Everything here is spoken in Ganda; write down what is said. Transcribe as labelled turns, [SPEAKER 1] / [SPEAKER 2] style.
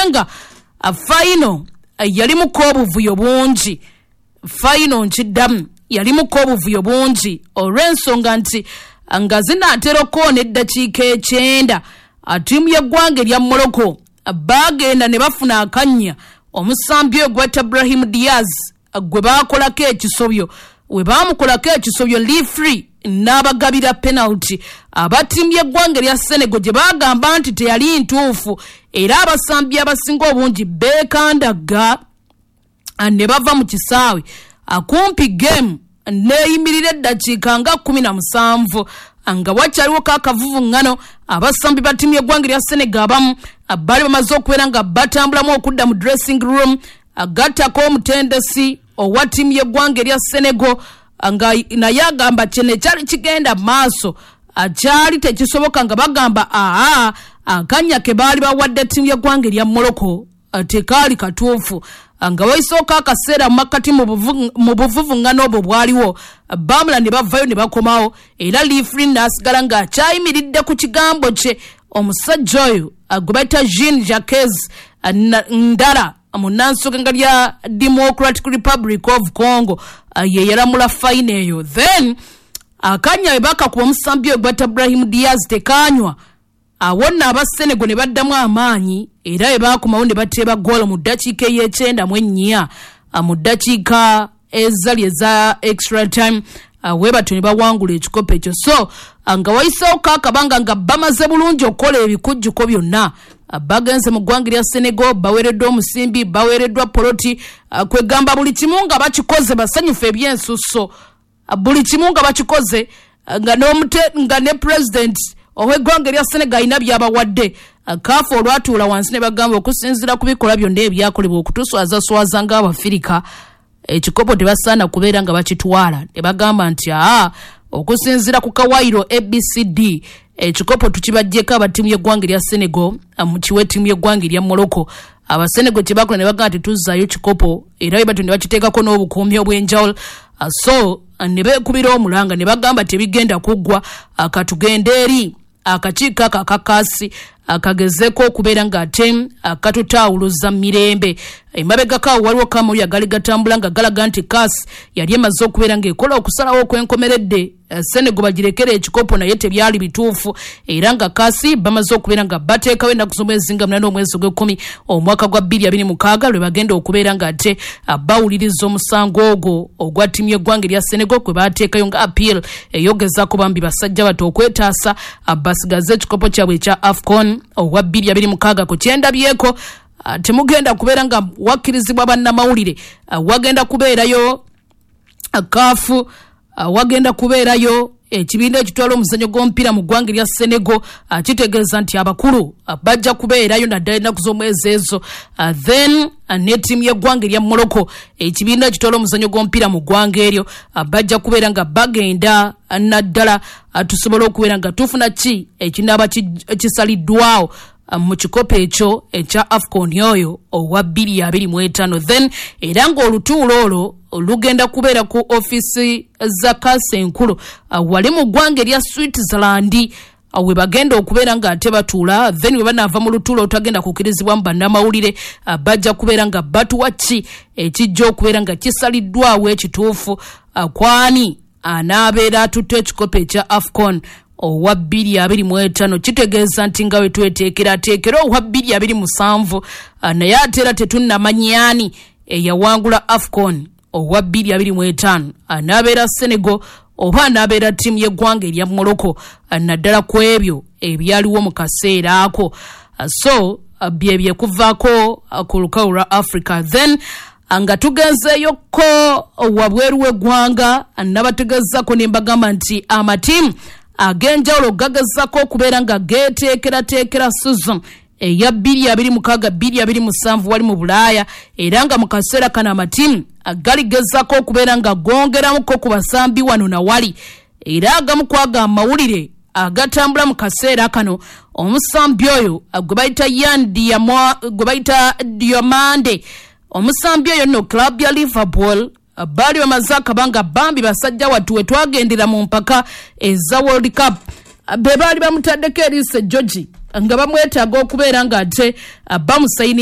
[SPEAKER 1] Nga final yalimuko obuvuyo bungi. Final, nkiddamu, yalimuko obuvuyo bungi olw'ensonga nti nga zinaatera okkoona eddakiika 90, ttiimu y'eggwanga erya Morocco baagenda ne bafuna akannya. Omusambi oyo gwetta Brahim Diaz gwe baakolako ekisobyo. We baamukolako ekisobyo, referee n'abagabira penalty aba ttiimu y'eggwanga erya Senegal gye baagamba nti teyali ntuufu, era abasambi abasinga obungi beekandagga ne bava mu kisaawe. Akumpi game neeyimirira eddakiika nga 17 nga wakyaliwo kaakavuvuŋŋano. Abasambi ba ttiimu y'eggwanga erya Senegal abamu baali bamaze okubeera nga batambulamu okudda mu dressing room, agattako omutendesi owa ttiimu y'eggwanga erya Senegal nga naye agamba kino ekyali kigenda maaso kyali tekisoboka, nga bagamba aa, akanya ke baali bawadde ttiimu y'eggwanga erya Morocco tekaali katuufu. Nga waisooka akaseera mu makkati mu buvuvuŋŋano obwo bwaliwo, baamula ne bavayo ne bakomawo, era referee n'asigala ng'akyayimiridde ku kigambo kye. Omusajja oyo gwe bayita Jean Jacques Ndala, munnansoga lya Democratic Republic of Congo, ye yalamula final eyo. Then akanya bwe bakakuba omusambi oyo gwata Brahim Diaz tekanywa. Awo nno Abasenego ne baddamu amaanyi, era bwe baakomawo ne bateeba goolo mu ddakiika ey'e94, mu ddakiika ezali eza extra time, we batyo ne bawangula ekikopo ekyo. So nga wayiseewo kaakabanga nga bamaze bulungi okukola ebikujjuko byonna, bagenze mu ggwanga lya Senegal, baweereddwa omusimbi, baweereddwa poloti, kwegamba buli kimu nga bakikoze, basanyufu ebyensusso, buli kimu nga bakikoze, nga ne president ow'eggwanga erya Senegal alina by'abawadde. CAF olwatuula wansi ne bagamba, okusinziira ku bikolwa byonna ebyakolebwa okutuswazaswaza ng'Abafirika, ekikopo tebasaana kubeera nga bakitwala. Ne bagamba nti aa, okusinziira ku kawaayiro ABCD, ekikopo tukibaggyeko aba ttiimu y'eggwanga erya Senegal, mukiwe ttiimu y'eggwanga erya Morocco. Abasenegal kye bakola ne bagamba tetuzzaayo kikopo, era bwe batyo ne bakiteekako n'obukuumi obw'enjawulo. So ne beekubira omulanga ne bagamba tebigenda kuggwa, katugende eri akakiiko ako akakaasi akagezeeko okubeera ng'ate katutaawuluza mirembe. Emabegako awo waliwo kamuli agali gatambula nga galaga nti CAS yali emaze okubeera ng'ekola okusalawo okw'enkomeredde, Senegal bagirekere ekikopo, naye tebyali bituufu, era nga CAS bamaze okubeera nga bateekawo ennaku z'omwezi nga 8 omwezi ogw'ekkumi omwaka gwa 2026 lwe bagenda okubeera ng'ate bawuliriza omusango ogwo ogwa ttiimu y'eggwanga erya Senegal kwe bateekayo nga appeal eyogezaako bambi basajja bato okwetaasa basigaze ekikopo kyabwe ekya AFCON owa 2026. Ku kyendabyeko, temugenda kubeera nga wakkirizibwa bannamawulire. Wagenda kubeerayo CAF, wagenda kubeerayo ekibiina ekitwala omuzannyo gw'omupiira mu ggwanga erya Senegal. Kitegeeza nti abakulu bajja kubeerayo naddala ennaku z'omwezi ezo. Then ne ttiimu y'eggwanga erya Morocco, ekibiina ekitwala omuzannyo gw'omupiira mu ggwanga eryo, bajja kubeera nga bagenda naddala tusobole okubeera nga tufuna ki ekinaaba kisaliddwawo mu kikopo ekyo ekya AFCON oyo owa 2025. Then era ng'olutuulo olwo lugenda kubeera ku ofiisi za CAS enkulu wali mu ggwanga erya Switzerland, we bagenda okubeera ng'ate batuula. Then we banaava mu lutuulo olutagenda kukkirizibwamu bannamawulire, bajja kubeera nga batuwa ki ekijja okubeera nga kisaliddwawo ekituufu, kwani anaabeera atutte ekikopo ekya AFCON owa 2025. Kitegeeza nti nga we tweteekerateekera owa 2027, naye ate era tetunnamanyani eyawangula AFCON owa 2025, anaabeera Senegal oba anaabeera ttiimu y'eggwanga erya Morocco, naddala ku ebyo ebyaliwo mu kaseera ako. So bye byekuvaako ku lukalu lwa Africa. Then nga tugenzeeyokko wabweru w'eggwanga, nabategeezako ne mbagamba nti amatiimu ag'enjawulo gagezaako okubeera nga geeteekerateekera season eya 2026 2027 wali mu Bulaaya, era nga mu kaseera kano amatiimu galigezaako okubeera nga gongeramuko ku basambi wano na wali. Era agamu kwago amawulire agatambula mu kaseera kano, omusambi oyo gwe bayita Yan, gwe bayita Diomande, omusambi oyo nno club ya Liverpool baali bamaze akabanga bambi basajja wattu we twagendera mu mpaka eza World Cup be baali bamutaddeko eriiso ejjogi nga bamwetaaga okubeera ng'ate bamusayininga.